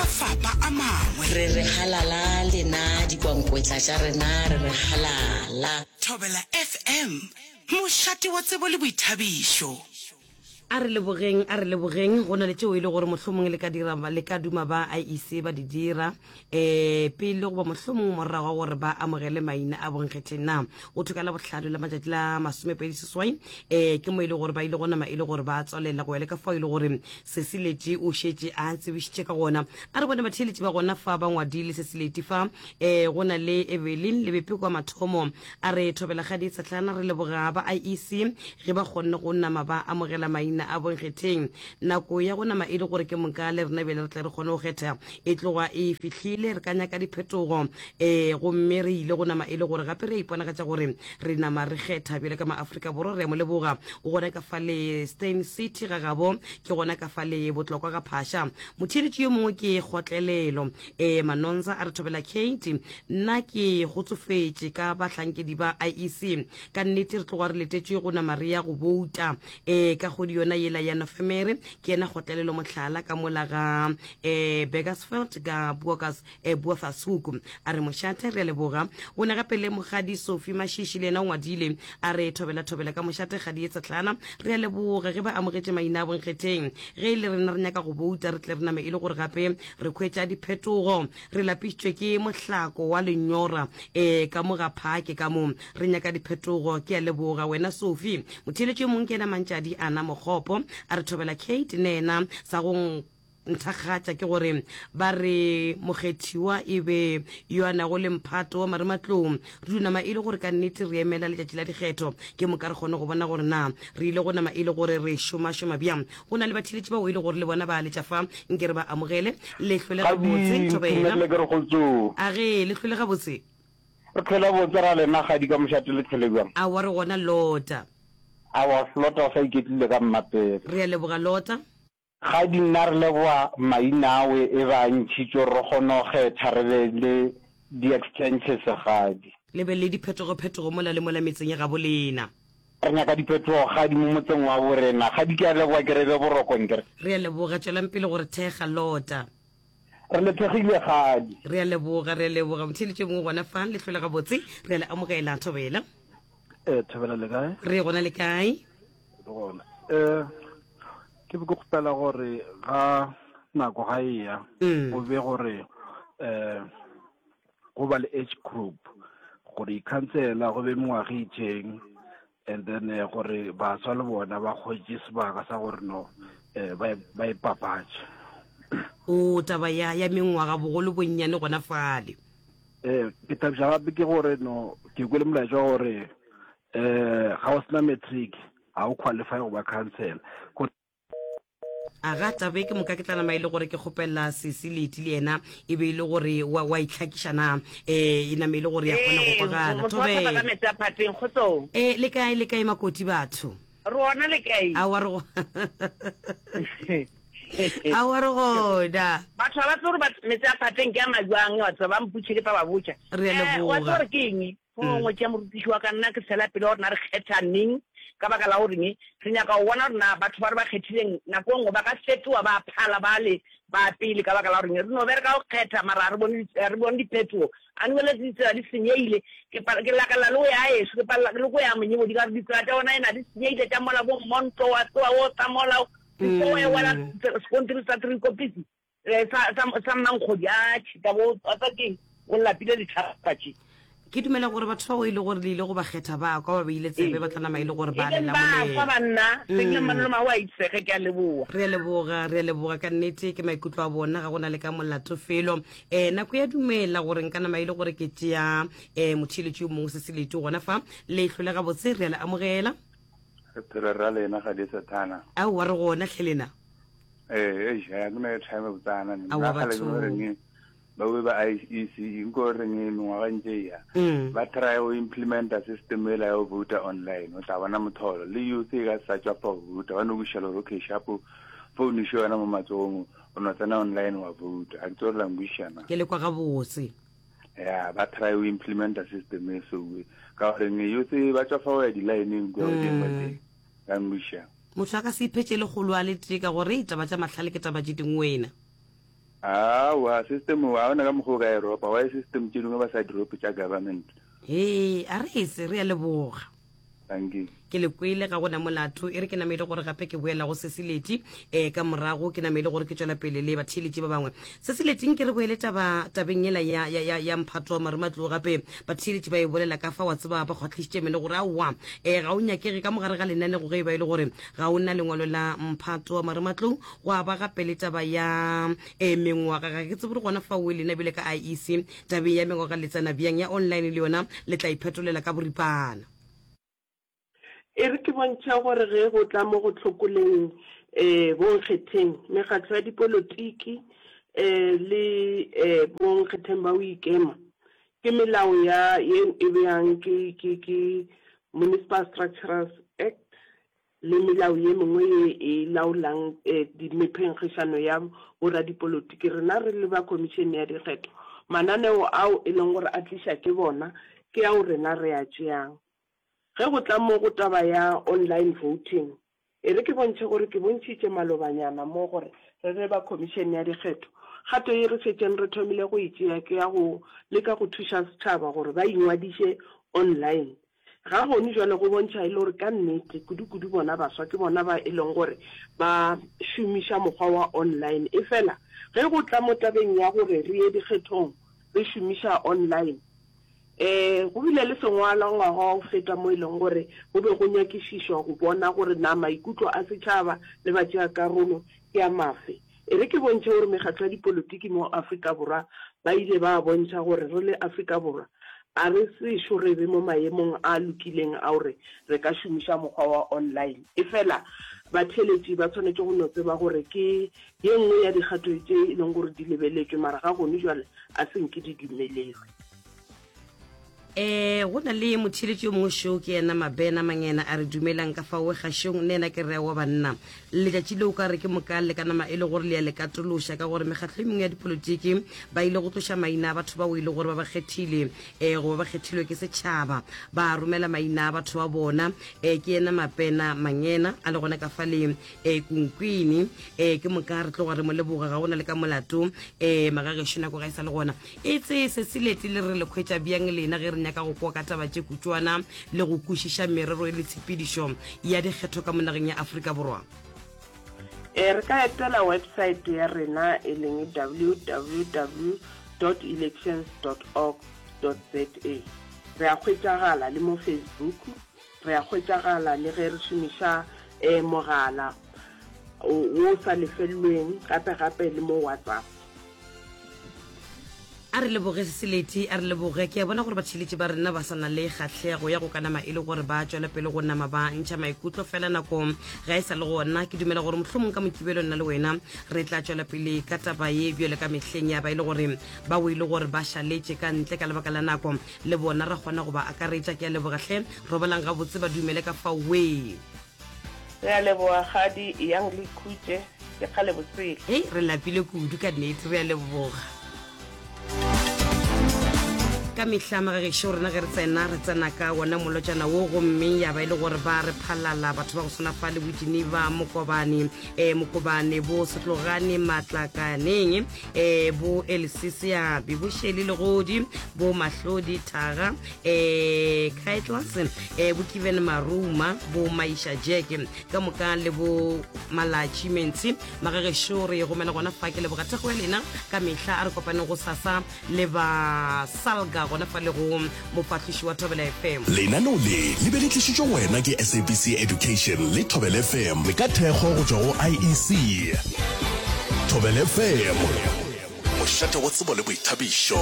mafapa a mangwe. Re re halala lena dikwankwetla tša rena re re halala. Thobela FM, mošate wa tsebo le boithabišo. A re lebogeng, a re lebogeng. Go na le tšeo e le gore mohlomongwe le ka dira, le ka duma ba IEC ba di dira um pele goba mohlomongwe morago ga gore ba amogele maina a bonkgetheng. Na go thwe ka Labohlano la matšatši la masomepedi seswai um ke mo e le gore ba ile go nama e le gore ba tswalela go ya le ka fao e le gore Sesileti o šetše a tsebišitše ka gona. A re bone batheeletši ba gona fa ba ngwadile Sesileti fa um go na le Evelyn Lebepe kwa mathomo a re Thobelagadi Tshetlana re leboga ba IEC ge ba kgonne go nama ba amogela maina a bonkgetheng. Nako ya go nama e le gore ke moka le rena bjale re tle re kgone go kgetha e tloga e fihlile. Re ka nyaka diphetogo um gomme re ile go nama e le gore gape re a iponagatša gore re nama re kgetha bjale ka maafrika borwa. Re a mo leboga o gona ka fa le Steyn City ga gabo ke gona ka fa le Botlokwa ga Phasha. Motheeletši yo mongwe ke Kgotlelelo e Manonza a re thobela Kate nna ke gotsofetše ka bahlankedi ba IEC ka nnete re tloga re letetše go nama re ya go bouta e ka kgwedi yona yela ya Nofemere. Ke yena Kgotlelelo mohlala ka mola ga e Burgersfeld ka Buokas e Buafasuku a re mošate re a leboga. O ne gape le Mokgadi Sophie Mashishi le yena o ngwadile a re thobela thobela ka mošate kgadi ye tsehlana re a leboga ge ba amogetše maina a bonkgetheng. Ge e le rena re nyaka go bouta re tle re name e le gore gape re khwetša diphetogo. Re lapišitšwe ke mohlako wa lenyora e ka mo ga phake ka mo re nyaka diphetogo. Ke a leboga wena Sophie. Motheeletši yo mongwe ke yena Mantšadi Ana Mokgopo a re thobela Kate ne yena sa go Nthakgatša ke gore ba re mokgethiwa e be yo a nago le mphato wa marematlou. Re dio nama e le gore ka nnete re emela letšatši la dikgetho, ke moka re kgone go bona gore na re ile go nama e le gore re šomašoma bjang. Go na le batheeletši bao e le gore le bona ba a letša fa, nke re ba amogele. Le hlwele gabotse, Gadi, Thobela. ntumelele ke re kgotsong. Age, le hlwele gabotse. Re hlwele botse ra lena Gadi ka mošate le hlwele bjang? Aowa re gona Lota. Aowa Lota o sa iketlile ka mmapele. Re a leboga Lota. Ga di nna re leboga maina awe e ba ntšhitšwe gore re kgone go kgetha re be le di extenches gadi. Le be le diphetogophetogo mola le mola metseng ya gabo lena. Re nyaka diphetogo gadi mo motseng wa bo rena. Gadi ke a leboga ke re be boroko nkere. Re a leboga tšwelang pele go re thekga Lota. Re le thekgile gadi. Re a leboga re a leboga motheeletši yo mongwe gona fa le hlole gabotse re a le amogela Thobela. Eh Thobela le kae? Re gona le kae? Re gona. Eh Ke be ke kgopela gore ga nako ga e ya mm. go be gore um go ba le age group gore ikhansela go be mengwaga e itseng and then eh, gore baswa le bona ba kgwetše sebaka sa gore no um ba ipapatše o taba ya ya mengwaga bogolo bonnyane gona fale um ke thabiša gape ke gore no ke kwele molaetša wa gore um ga o sena matric Ga o qualify go ba councillor. Go. A ga tabe ke moka ke tla nama e le gore ke kgopela sesi Leti le yena e be e le gore wa, wa itlhakiša na e, e name e le gore ya kgona go Ee, kwagala. motho wa thaba ka Thobela. meetse a phateng, kgotsong. E, le kae, le kae makoti batho? Re ona le kae? Aowa re go Aowa re gona. Batho ga ba tsebe gore bat- meetse a phateng ke a majwang, batho ba mpotše ke tla ba botša. Re a Eh, wa tseba leboga. gore ke eng? Go ngwe tša morutiši wa ka nna ke fela pele gore na re kgetha neng ka baka la goreng re nyaka go bona gore na batho ba re ba kgethileng nako e nngwe ba ka fetoga ba phala bale ba pele ka baka la goreng re no bereka go kgetha mara ga re bone ga re bone diphetogo. Anyway ditsela di senyegile ke ke lakalela le go ya gaešo ke palela le go ya Monyebodi ka gore ditsela tša bona ena di senyegile tša mola bo Mmonto wa tsoga o tla mola before o e wela sekontiri sa Driekoppies. Eh, sa, sa, sa mmankgodi a tšhita bo a tsa keng o lapile ditlhapa tše. Ke dumela gore batho bao e le gore le ile go ba kgetha ba kwa ba beile tsebe ba tla nama e le gore ba E le leng ba kwa lamolela. banna, se ke manolo ma wa itsege ke a leboa. Re a leboga, re a leboga ka nnete ke maikutlo a bona ga go na le ka molato felo. Um nako ya dumela gore nka nama e le gore ke tšea um motheeletši yo mongwe se se lete gona fa le hlole gabotse re a le amogela. Re phela ra lena ga di sathana. Aowa re gona hle lena. Ee, eish, ga ke na airtime botsana. Aowa, Nna kgale ke batho. no reng ba be ba IEC nko reng mengwaga ntse e ya. Mm. Ba try go implementa system ela ya go voter online. O tla bona motholo. Le youth e ka sa tswa fa go voter. Ba no bušela gore okay sharp phone še yona mo matsogong o no tsena online wa voter. A ke tsore la nkwešiša na. Ke le kwa gabotse. Ya, ba try go implementa system e so. Ka gore youth ba tswa fa go ya di-line-eng kwa godimo Mm. teng. La nkwešiša. Motho a ka se iphetše lekgolo a le tee ka gore taba tša mahlale ke taba tše dingwe wena. Aowa, system ga gona ka mokgwa o ka e ropa. Why system tše dingwe ba sa di rope tša government? Hee, a re ese, re a leboga. Dankie. Ke le kwele, ga go na molato. E re ke name e le gore gape ke boela go Sesileti, eh, ka morago ke name e le gore ke tšwela pele le batheeletši ba bangwe. Sesileti, nke re boele taba, tabeng yela ya, ya, ya, ya mphato wa marematlou gape. Batheeletši ba e bolela ka fa, wa tseba, ba kgwahlišitše meno gore aowa, eh, ga o nyakege ka mo gare ga lenanego ge e ba e le gore ga o na lengwalo la mphato wa marematlou. Gwa ba gape le taba ya, eh, mengwaga. Ga ke tsebe gore gona fao lena bjale ka IEC, tabeng ya mengwaga le tsena bjang, ya online le yona le tla iphetolela ka boripana. E re ke bontšhe gore ge go tla mo go hlokoleng um bonkgetheng, mekgatlo ya dipolotiki um le um bonkgetheng ba go ikema, ke melao ya ye e beyang ke, ke, ke Municipal Structures Act le melao ye mengwe ye e laolang mephenkgišano ya boradipolotiki. Rena re le ba Khomišene ya Dikgetho, mananeo ao e leng gore a tliša ke bona ke ao rena re a tšeang. Ge go tla mo go taba ya online voting, e re ke bontšhe gore ke bontšhitše malobanyana mo gore re le ba Khomišene ya Dikgetho, kgato ye re šetšeng re thomile go e tšea ke ya go leka go thuša setšhaba gore ba ingwadiše online Ga gone jwale go bontšha e le gore ka nnete, kudu-kudu bona baswa ke bona ba e leng gore ba šomiša mokgwa wa online. Efela ge go tla mo tabeng ya gore re ye dikgethong re šomiša online, um go bile le sengwalwa ngwaga wa go feta mo e leng gore go be go nyakišišwa go bona gore na maikutlo a setšhaba le batšeakarolo ke a mafe. E re ke bontšhe gore mekgatlo ya dipolotiki mo Afrika Borwa ba ile ba bontšha gore re le Afrika Borwa a re sešo re be mo maemong a lokileng a gore re ka šomiša mokgwa wa online. Efela batheeletši ba swanetše go no tseba gore ke ye nngwe ya dikgato tše e leng gore di lebeletšwe mara ga gone jwale a se nke di dumelelwe. Eh, go na le motheeletši yo mongwe šo ke yena Mabena Mangena a re dumelang ka fao gašong nne yena ke rea wa banna letšatši leo ka re ke moka le ka nama e le gore le ya le katološa ka gore mekgatlo e mengwe ya dipolotiki ba ile go tloša maina a batho bao e le gore ba ba kgethile um goba ba kgethilwe ke setšhaba ba romela maina a batho ba bona um ke yena Mabena Mangena a le gona ka fa le um Kunkwini um ke moka re tloga re mo leboga ga go na le ka molato um magagešo nako ga e sa le gona E tsee se selete le re le hwetša bjang lena ge re nyaka go kwa ka taba tše kutšwana le go kwešiša merero le tshepedišo ya dikgetho ka mo nageng ya Afrika Borwa? E, re ka etela website ya rena e leng www dot elections dot org dot za. Re a hwetšagala le mo Facebook, re a hwetšagala le ge re šomiša um mogala wo o sa lefellweng, gape gape le mo WhatsApp. A re leboge Seseleti, a re leboge. Ke a bona gore batšheletši ba rena ba sa na le kgahlego ya go ka nama e le gore ba tšwela pele go nama ba ntšha maikutlo fela nako ga e sa le gona. Ke dumela gore mohlomong ka Mokibelo nna le wena re tla tšwela pele ka taba ye bjale ka mehleng ya ba e le gore ba o e le gore ba šaletše ka ntle ka lebaka la nako le bona ra kgona go ba akaretša. Ke a leboga hle. Robalang gabotse ba dumele ka fao wee. Re a leboga Kgadi, eyang le ikhutše, ke kgale bosele. Hei, re lapile kudu ka nnete, re a leboga. Ka mehla magagešo rena ge re tsena, re tsena ka wona molotšana wo, gomme ya ba e le gore ba re phalala batho ba go swana fa le bo Geneva, Mokobane, eh, Mokobane, bo Setlogane, Matlakaneng, eh, bo Elsie Seabi, bo Shelley Legodi, bo Mahlodi Thaga, eh Kaitlas eh bo Kiven Maruma bo Maisha Jack ka moka le bo Malatši Mentsi magagešo re gomela gona fa ke leboga thekgo ya lena ka mehla a re kopaneng go sasa le ba Salga gona fa le go mofahloši wa Thobela FM. Lenaneo le le be le tlišitšwe go wena ke SABC Education le Thobela FM ka thekgo go tšwa go IEC. Thobela FM, mošate wa tsebo le boithabišo.